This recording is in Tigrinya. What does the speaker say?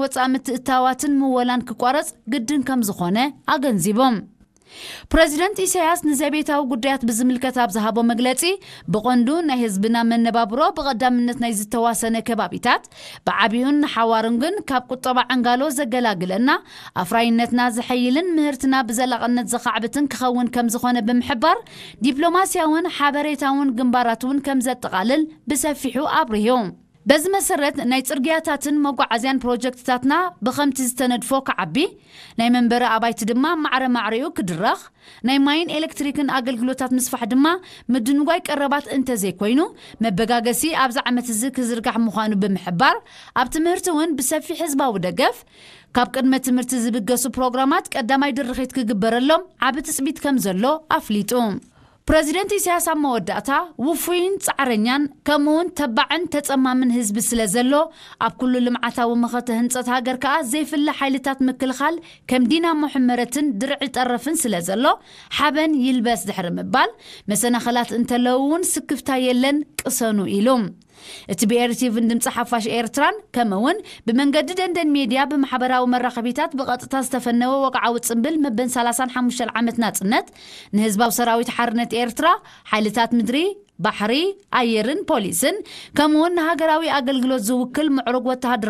ወፃኢ ምትእታዋትን ምወላን ክቋረፅ ግድን ከም ዝኾነ ኣገንዚቦም። ፕረዚደንት ኢሳያስ ንዘቤታዊ ጉዳያት ብዝምልከት ኣብ ዝሃቦ መግለጺ፣ ብቐንዱ ናይ ህዝብና መነባብሮ ብቐዳምነት ናይ ዝተዋሰነ ከባቢታት ብዓቢዩን ንሓዋሩን ግን ካብ ቁጠባ ዕንጋሎ ዘገላግለና፣ ኣፍራይነትና ዘሐይልን ምህርትና ብዘላቕነት ዘኻዕብትን ክኸውን ከም ዝኾነ ብምሕባር፣ ዲፕሎማስያውን ሓበሬታውን ግንባራት እውን ከም ዘጠቓልል ብሰፊሑ ኣብሪሁ። በዚ መሰረት ናይ ጽርግያታትን መጓዓዝያን ፕሮጀክትታትና ብኸምቲ ዝተነድፎ ክዓቢ፣ ናይ መንበሪ ኣባይቲ ድማ ማዕረ ማዕሪኡ ክድረኽ፣ ናይ ማይን ኤሌክትሪክን ኣገልግሎታት ምስፋሕ ድማ ምድንጓይ ቀረባት እንተዘይኮይኑ፣ መበጋገሲ ኣብዚ ዓመት እዚ ክዝርጋሕ ምዃኑ ብምሕባር፣ ኣብ ትምህርቲ እውን ብሰፊሕ ህዝባዊ ደገፍ ካብ ቅድመ ትምህርቲ ዝብገሱ ፕሮግራማት ቀዳማይ ድርኺት ክግበረሎም ዓቢ ትጽቢት ከም ዘሎ ኣፍሊጡ። ፕረዚደንት ኢሳያስ ኣብ መወዳእታ፣ ውፉይን ጻዕረኛን ከምኡውን ተባዕን ተጸማምን ህዝቢ ስለ ዘሎ፣ ኣብ ኩሉ ልምዓታዊ መኸተ ህንጸት ሃገር ከኣ ዘይፍለ ሓይልታት ምክልኻል ከም ዲናሞ ሕመረትን ድርዒ ጠረፍን ስለ ዘሎ፣ ሓበን ይልበስ ድሕሪ ምባል፣ መሰናኸላት እንተለዉ እውን ስክፍታ የለን፣ ቅሰኑ ኢሉ። እቲ ብኤርቲቪን ድምፂ ሓፋሽ ኤርትራን ከምኡ እውን ብመንገዲ ደንደን ሜድያ ብማሕበራዊ መራኸቢታት ብቐጥታ ዝተፈነወ ወግዓዊ ጽምብል መበን ሰላሳን ሓሙሽተን ዓመት ናጽነት ንህዝባዊ ሰራዊት ሓርነት ኤርትራ፣ ሓይልታት ምድሪ፣ ባሕሪ፣ ኣየርን ፖሊስን ከምኡ እውን ንሃገራዊ ኣገልግሎት ዝውክል ምዕሩግ ወተሃደራዊ